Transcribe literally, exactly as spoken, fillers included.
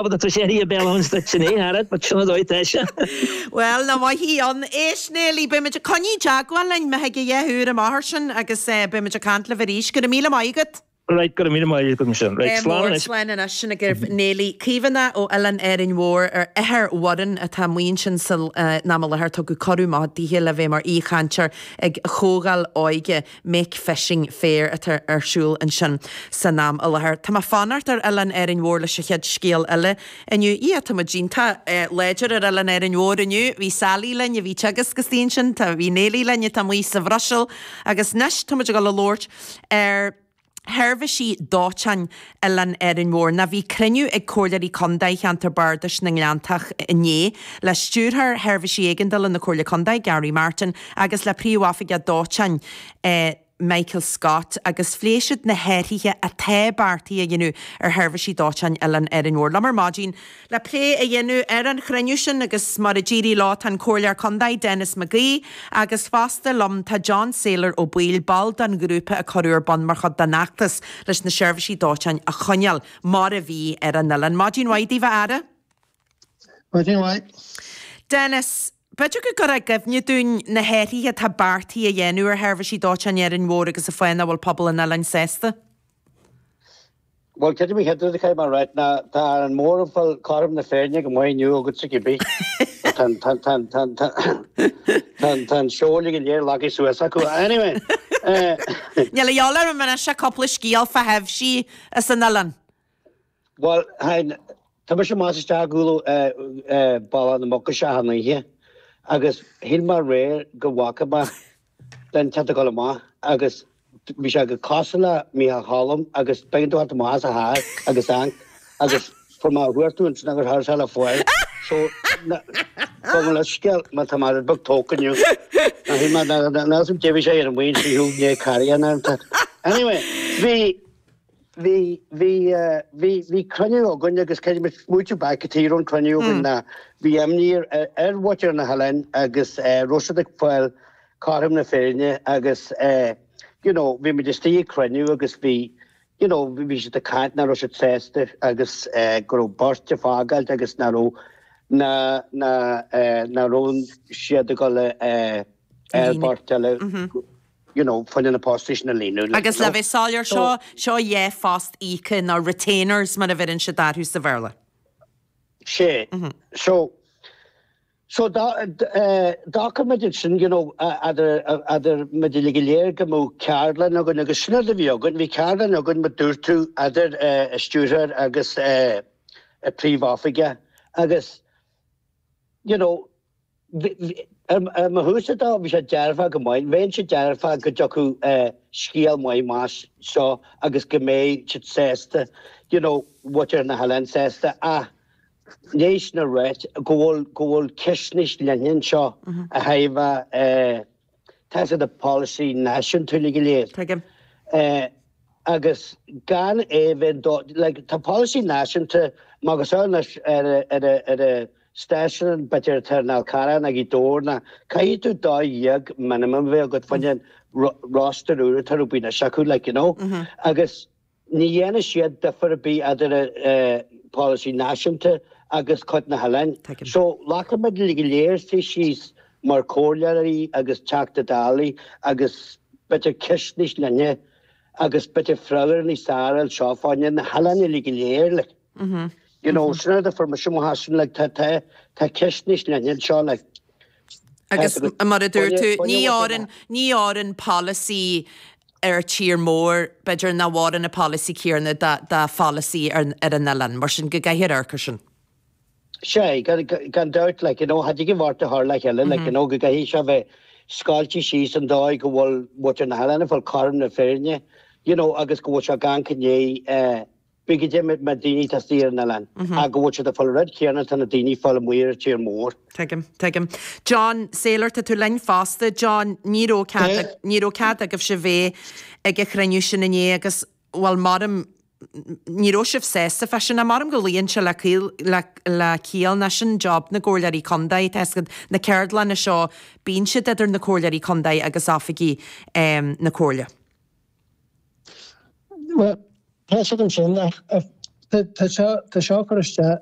Tá sé a bheith an sin é but sin dóigh sé. Well na maithí an éis néí be a coní jaagháil me he dheúr a máthir sin agus be a caint libh arís go raibh míle maith agat. Right go raibh míle maith agat sin. Right slán slán anois sin agaibh Néilí Caomhánach ó Oileán Árainn Mhór ar ithir Mhurran atá amuigh ansin san am i láthair tugadh cuireadh maith dithe le bheith mar aoichainteoir ag comhdháil óige Make Fishing Fair atá ar siúl ansin san am i láthair. Tá mé fanacht ar Oileán Árainn Mhór leis an chéad scéal eile inniu. Ia tá muid iontach láidir ar Oileán Árainn Mhór inniu, bhí Sally linn a bhí teagasc istigh ansin, tá bhí Néilí linn atá amuigh sa Bhruiséil agus anois tá muid ag dul a labhairt ar sheirbhísí dóiteáin Oileán Árainn Mhór. Ná bhí cruinniú ag Comhairleoirí Contae Cheantar Bardais na nGleanntach inné le Stiúrthóir Sheirbhísí Éigeandála na Comhairle Contae, Gary Martin, agus le Príomhoifigeach Dóiteáin, Michael Scott, agus phléigh siad na hathruithe atá beartaithe a dhéanamh ar sheirbhísí dóiteáin Oileán Árainn Mhór. Liom ar maidin le plé a dhéanamh ar an chruinniú sin agus mar a d'éirigh leo tá an Comhairleoir Contae Denis McGee agus fosta liom tá John Saylor Ó Baoill, ball den ghrúpa a cuireadh ar bun mar chuid den fheachtas leis na seirbhísí dóiteáin a choinneáil mar a bhí ar an oileán. Maidin mhaith daoibh a fheara. Maidin mhaith. Denis, b'fhéidir go gcuirfeá i gcuimhne dúinn na hathruithe atá beartaithe a dhéanamh ar sheirbhísí dóiteáin Árainn Mhór agus an fáth nach bhfuil pobal an oileáin sásta? Bhuel, creidim an chéad rud a chaithfidh mé a ráit ná tá an mór ag fáil cothrom na féinne go maith inniu agatsa cibé. Tá an tá an tá an tá an tá an seol go léir leagtha suas acu. Anyway, eh, Níl a fhios orm anois cúpla scéal fá thaibhsí as an oileán. Bhuel, hein, tá mise amach isteach ag gabháil Bealach na Muc isteach an oíche agus shíl mé aréir go bhfaca mé duine inteacht ag dul amach agus bhí sé go cosúil le Mícheál Cholm agus b'éigean dó theacht amach as a charr agus amharc agus fuair mé a chuartú ansin agus thar le fáil. So gabh mo leithscéal má tá mé rud beag tógtha inniu. Ná shíl mé ná cé bhí sé ar an bhfaoin trí thú né carrion Anyway, bhí bhí bhí bhí bhí cruinniú againn agus creidim smaoitiú back tír an cruinniú againn ná bhí imní ar ar mhuintir na hoileáin agus raibh siad ag fáil cothrom na féinne agus you know, bhí muid istigh ag cruinniú agus bhí you know, bhí siad ag caint nach raibh siad sásta agus go raibh beirt ag fágáilt agus nach raibh na na nach raibh siad ag dul ar beirt eile you know, fá choinne na postaí sin a líonadh. Agus le bheith soiléir seo seo dhá phost íoctha nó retainers mar a bheireann siad orthu sa Bhéarla. Sé. So So d'fhág muid sin you know, idir idir muid go léir go mbeadh ceardlann againn agus sin a bhí againn, bhí ceardlann againn mar dúirt tú idir stiúrthóir agus príomhoifigeach agus you know, ar mo thús dá bhí sé dearfa go maith, bheinn sé dearfa go dtiocfadh scéal maith más seo agus go mbeidh siad sásta, you know, muintir na hoileáin sásta ach léis na réit go bhfuil go bhfuil ceist níos leithne anseo a thaobh tá sé de policy náisiúnta go léir. Tuigim. Agus gan é bheith like, tá policy náisiúnta mar go anois ar ar ar a stáisiún b'fhéidir atá in Alcarán ag dóir na caithfidh tú dá dhéag minimum bheith agat fá choinne roster úr atá rubí na seaú like, you know? Agus ní dhéanann siad difear ar bith idir policy náisiúnta agus cuid na hoileáin. So leacaimid go léir sa síos mar chomhairleoirí agus Teachta Dála agus b'fhéidir ceist níos leithne agus b'fhéidir freagra níos fearr seo fá choinne na hoileáin uilig go léir like. You know, sin rud a fuair mise mo sin like tá tá tá ceist níos leithne anseo like. Agus mar a dúirt tú ní fhóireann ní fhóireann policy ar tír mór b'fhéidir nach bhfóireann na policy céanna da policy ar ar an oileán, mar sin go gcaithfear amharc air sin. Sé gan dabht like, you know, had go bhart a thar le cheile like, you know, go gcaithfidh sé bheith scáilte síos an dóigh go bhfuil muintir na hoileáin ag fáil cothrom na féinne, you know, agus go bhfuil sé gan gné bí go dé ma daoine tastíar an oileán a go bhfuil siad ag fáil rud céanna tá na daoine fáil amuigh ar tír mór. Tuigim, tuigim. John Saylor tá tú linn fosta. John, ní raibh cead ní raibh cead agaibhse bheith ag an chruinniú sin inné agus bhuel maram ní raibh sibh sásta fá sin maram go luíonn sé le le le ciall ná sin job na gcomhairleoirí contae tá na ceardlanna seo bíonn siad idir na comhairleoirí contae agus oifigigh um, na comhairle. Well, tá siad ansin ach Tá seo tá seo curtha isteach